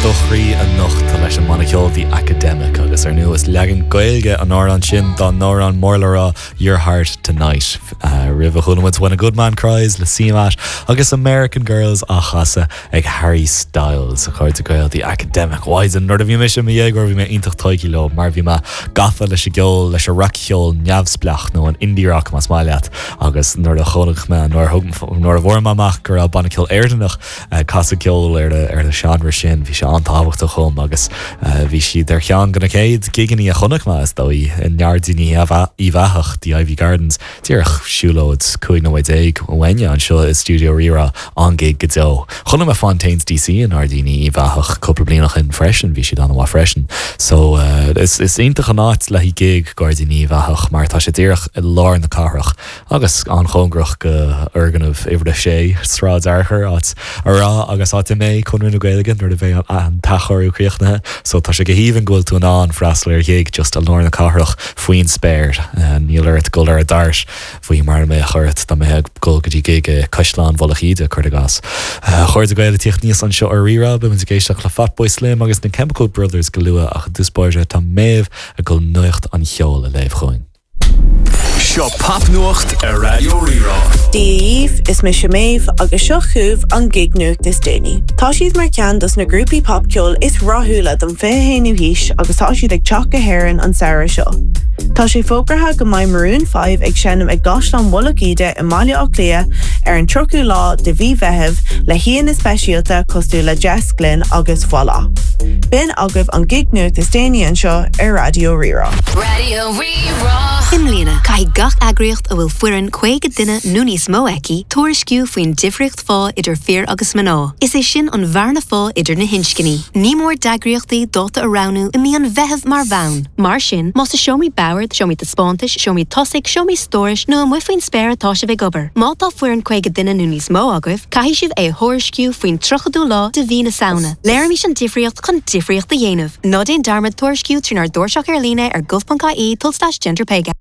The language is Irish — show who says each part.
Speaker 1: do chroí anocht leis an mbanna ceoil The Academic agus ar ndóigh is leagan Gaeilge an amhrán sin dá n-amhrán mór le rá Your Heart Tonight. Roimhe chuala muid When a Good Man Cries le CMAT agus American Girls á chasadh ag Harry Styles. A chairde Gael The Academic Mhaighdean nuair a bhí mise i mo dhéagóir bhí mé iontach tógtha leo mar bhí mé gafa leis an gceol, leis an rac-cheol neamhspleách nó an indie rock más maith leat agus nuair a chonaic mé, nuair a thug, nuair a bhfuair mé amach go raibh banna ceoil Éireannach ag casadh ceol ar ar an seánra sin bhí sé an-tábhachtach dhom agus bhí siad ar cheann de na chéad gigeanna a chonaic mé is dóigh i nGairdíní Uíbh Eachach, The Iveagh Gardens. Díreach siúlóid 15 nóiméad uainne anseo i stiúideo Rí-Rá, an-ghig go deo. Chonaic mé Fontaines DC i nGairdíní Uíbh Eachach cúpla bliain ó shin freisin, bhí siad an-mhaith freisin. So is is iontach an áit le haghaidh gig Gairdíní Uíbh Eachach mar tá sé díreach i lár na cathrach agus an-chóngarach go fhoirgneamh uimhir a sé, Sráid Fhearchair, áit a raibh agus áit a mbeidh Conradh na Gaeilge nuair a bheidh an t-athchóiriú críochnaithe. So tá sé go haoibhinn go bhfuil tú in ann freastal ar ghig just i lár na cathrach faoin spéir. Níl ort dul ar an DART faoi mar a mbeadh ort dá mbeifeá ag dul go dtí gig i Caisleán Mhullach Íde, cuir i gcás. A chairde Gael ag tíocht aníos anseo ar Rí-Rá, beidh muid ag éisteacht le Fatboy Slim agus na Chemical Brothers go luath ach i dtús báire tá Méabh ag dul nuacht an cheoil a léamh chugainn.
Speaker 2: Seo Popnuacht ar Raidió Rí-Rá.
Speaker 3: Dia dhaoibh, is mise Méabh agus seo chugaibh an gig-nuacht is déanaí. Tá siad mar cheann dos na grúpaí popcheoil is rathúla don 21ú haois agus tá siad ag teacht go hÉirinn an samhradh seo. Tá sé fógraithe go mbeidh Maroon 5 ag seinm i gCaisleán Mhullach Íde i mBaile Átha Cliath ar an 30ú lá de mhí Mheithimh le haíonna speisialta cosúil le Jess Glynne agus Voila. B'in agaibh an gig-nuacht is déanaí anseo ar Raidió Rí-Rá.
Speaker 4: Raidió Rí-Rá.
Speaker 5: I mbliana, caithfidh gach eagraíocht a bhfuil foireann 50 duine nó níos mó aici tuairisciú faoin difríocht phá idir fir agus mná, is é sin an bhearna phá idir na hinscní. Ní mór d'eagraíochtaí dáta a roghnú i mí an Mheithimh mar bhonn. Mar sin, más i seomraí boird, seomraí taispeántais, seomraí tosaigh, seomraí stórais nó amuigh faoin spéir atá sibh ag obair, má tá foireann 50 duine nó níos mó agaibh, caithfidh sibh é a thuairisciú faoin 30ú lá de mhí na Samhna. Léirímis an difríocht chun difríocht a dhéanamh. Ná déan dearmad tuairisciú trínár dtairseach ar líne ar gov.ie tulslais genderpaygap.